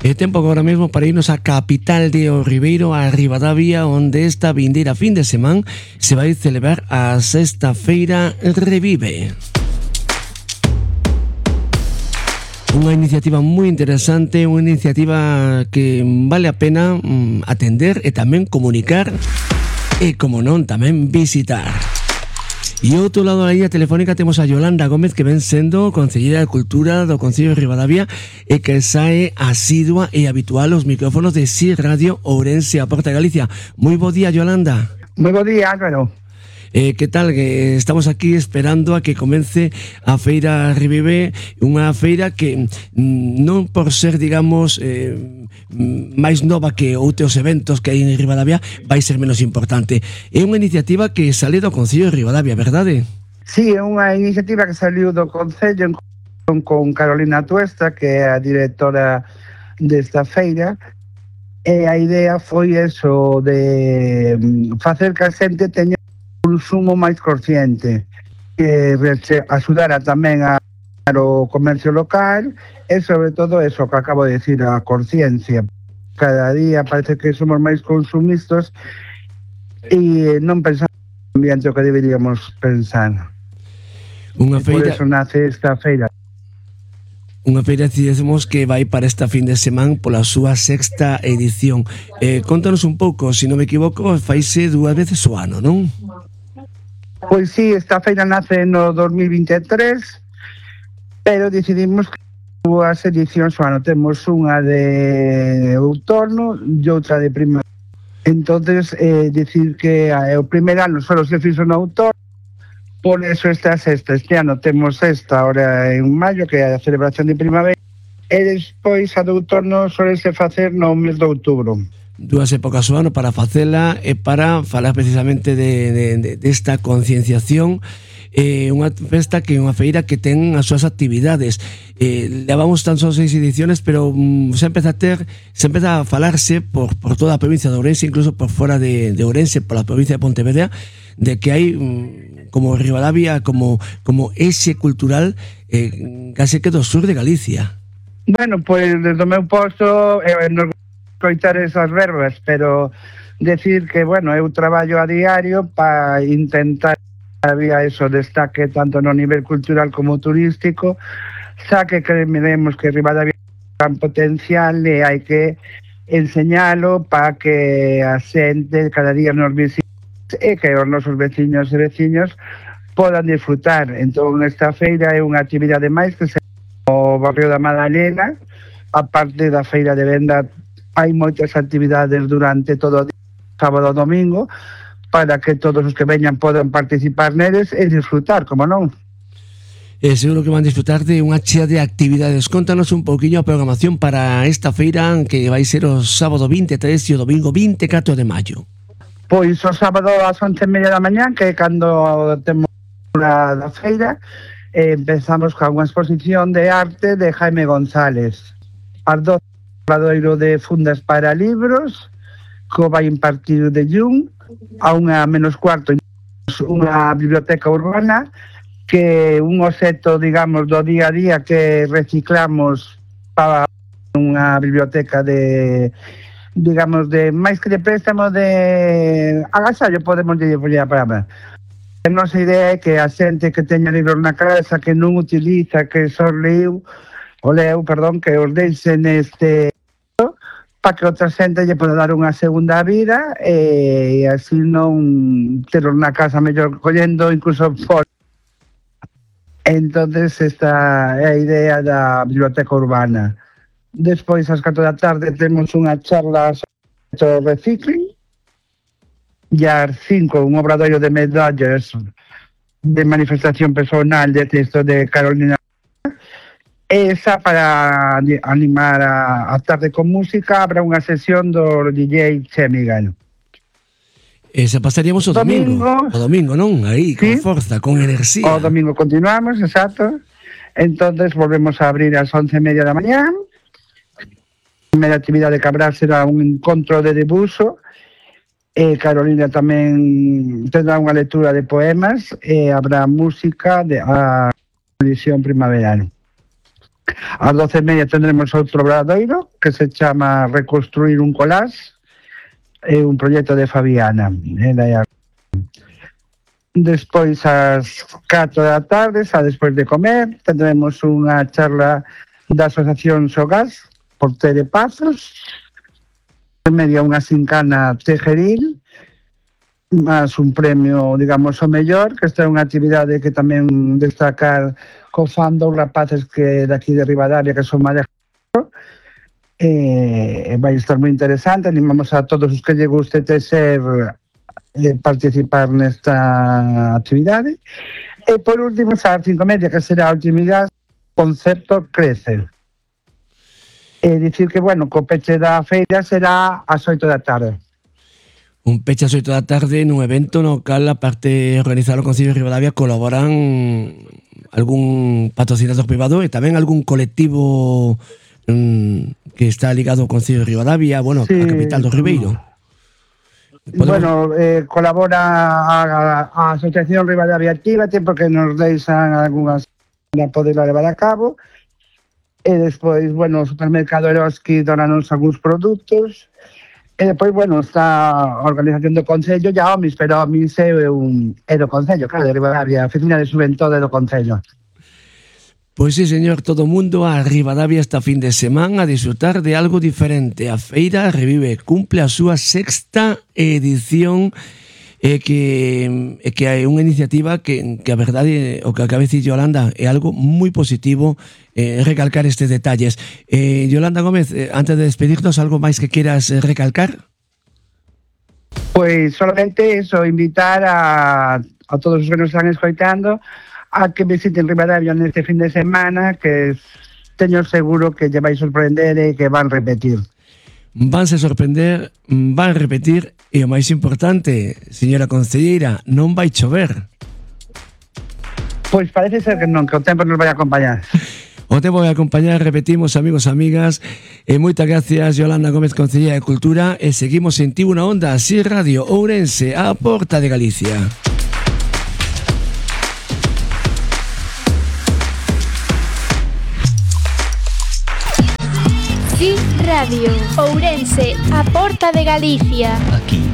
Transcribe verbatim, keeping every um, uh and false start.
É tempo agora mesmo para irnos á capital de O Ribeiro, a Ribadavia, onde esta vindeira fin de semana se vai celebrar a sexta feira Revive. Unha iniciativa moi interesante, unha iniciativa que vale a pena mm, atender e tamén comunicar e, como non, tamén visitar. E ao outro lado da línea telefónica temos a Yolanda Gómez, que ven sendo Concelleira de Cultura do Concello de Ribadavia e que sae asidua e habitual aos micrófonos de Si Radio Ourense, a Porta de Galicia. Moi bo día, Yolanda. Moi bo día, Álvaro. Eh, que tal? Que estamos aquí esperando a que comece a Feira Revive, unha feira que mm, non por ser, digamos, eh, máis nova que outros eventos que hai en Ribadavia, vai ser menos importante. É unha iniciativa que sale do Concello de Ribadavia, verdade? Sí, é unha iniciativa que saliu do Concello con, con Carolina Tuesta, que é a directora desta feira, e a idea foi eso de facer que a xente teña un consumo máis consciente, que axudara tamén a o comercio local e sobre todo eso que acabo de decir, a conciencia. Cada día parece que somos máis consumistas e non pensamos no ambiente o que deberíamos pensar. Unha feira... Por eso nace esta feira. Unha feira, decimos, que vai para esta fin de semana pola súa sexta edición. Eh, contanos un pouco, se non me equivoco, faise dúas veces o ano, non? Pois sí, esta feira nace no dos mil vinte e tres, pero decidimos que dúas edicións o ano. Temos unha de outono e outra de primavera. Entonces, eh, decir que eh, o primeiro ano só se fixo no outono, por eso esta sexta. Este ano temos esta ahora en maio, que é a celebración de primavera, e despois a de outono solese facer no mes de outubro. Dúas épocas o ano para facela e para falar precisamente de, de, de, desta concienciación. É eh, unha festa que é unha feira que ten as súas actividades. Eh, levamos tan só seis ediciones, pero mm, se empeza a ter, se empeza a falarse por, por toda a provincia de Ourense, incluso por fora de, de Ourense, por la provincia de Pontevedra, de que hai mm, como Ribadavia, como, como ese cultural eh, case que do sur de Galicia. Bueno, pois pues, desde o meu posto eh, nos coitar esas verbas, pero decir que, bueno, eu traballo a diario para intentar había eso destaque tanto no nivel cultural como turístico, xa que creemos que Ribadavia ten gran potencial e hai que enseñalo para que a xente cada día nos visite e que os nosos veciños e veciños podan disfrutar. Entón, esta feira é unha actividade máis que se no barrio da Madalena, a parte da feira de venda. Hai moitas actividades durante todo o día, sábado e domingo, para que todos os que veñan podan participar neles e disfrutar, como non? E seguro que van disfrutar de unha chea de actividades. Contanos un pouquiño a programación para esta feira que vai ser o sábado vinte e tres e o domingo vinte e catro de maio. Pois o sábado ás once e media da mañá, que é cando temos a da feira, eh, empezamos con unha exposición de arte de Jaime González. As doce Obradoiro de fundas para libros, que vai impartir de Jung, a unha menos cuarto unha biblioteca urbana, que un obxecto, digamos, do día a día que reciclamos para unha biblioteca de, digamos, de máis que de préstamo de agasallo, podemos dicir a palabra. A nosa idea é que a xente que teña libros na casa, que non utiliza, que só leu, o leu, perdón, que os deixen neste para que outra xente lle poda dar unha segunda vida e así non terlos na casa mellor collendo incluso fora. Entonces esta é a idea da biblioteca urbana. Despois ás catro da tarde temos unha charla sobre recicling e ás cinco un obradoiro de medallas de manifestación personal de texto de Carolina. Esa para animar a, a tarde con música. Habrá unha sesión do D J Chemigal. Esa pasaríamos o domingo, domingo. O domingo, non? Aí, con ¿sí? Forza, con enerxía. O domingo continuamos, exacto. Entonces volvemos a abrir ás once e media da mañá. A primeira actividade que habrá será un encontro de debuxo. E Carolina tamén tendrá unha lectura de poemas e habrá música de a edición primaverana. Ás doce e media tendremos outro obradoiro que se chama Reconstruir un collage, é un proxecto de Fabiana. Despois ás catro da tarde, xa despois de comer, tendremos unha charla da Asociación Sogás por Tere Pazos, en media unha sincana tejeril, máis un premio, digamos, o mellor, que esta é unha actividade que tamén destacar co fan dos rapaces que daqui de Ribadavia, que son máis eh, vai estar moi interesante. Animamos a todos os que lle guste tecer eh, participar nesta actividade. E por último, xa as cinco e media, que será a actividade Concepto Crece. É dicir que, bueno, co peche da feira será ás oito da tarde. Un peche ás oito da tarde nun evento no cal, a parte de organizar o Concello de Ribadavia, colaboran algún patrocinador privado e tamén algún colectivo mmm, que está ligado ao Concello de Ribadavia, bueno, sí, a capital do Ribeiro. Podemos... Bueno, eh, colabora a, a, a Asociación Ribadavia Actívate, porque nos deixan algunhas para poder levar a cabo, e despois, bueno, o supermercado Eroski donanos algúns produtos. E depois, bueno, está a organización do Concello, ya Omis, pero Omis é, un, é do Concello, claro, de Ribadavia, a oficina de xuventude do Concello. Pois sí, señor, todo o mundo a Ribadavia esta fin de semana a disfrutar de algo diferente. A feira revive, cumple a súa sexta edición, e que, e que é unha iniciativa que, que a verdade, o que acaba de dicir Yolanda, é algo moi positivo, eh, recalcar estes detalles. Eh, Yolanda Gómez, eh, antes de despedirnos, algo máis que quieras eh, recalcar? Pois solamente eso, invitar a, a todos os que nos están escoitando a que visiten Ribadavia neste fin de semana, que teño seguro que lle vai sorprender e que van repetir. Vanse sorprender, van repetir, e o máis importante, señora concelleira, non vai chover. Pois parece ser que non, que o tempo nos vai acompañar. O tempo vai acompañar, repetimos, amigos, amigas, e moitas gracias, Yolanda Gómez, concelleira de Cultura, e seguimos en Tribuna Onda, así Radio Ourense, a porta de Galicia. Sí Radio Ourense, a porta de Galicia. Aquí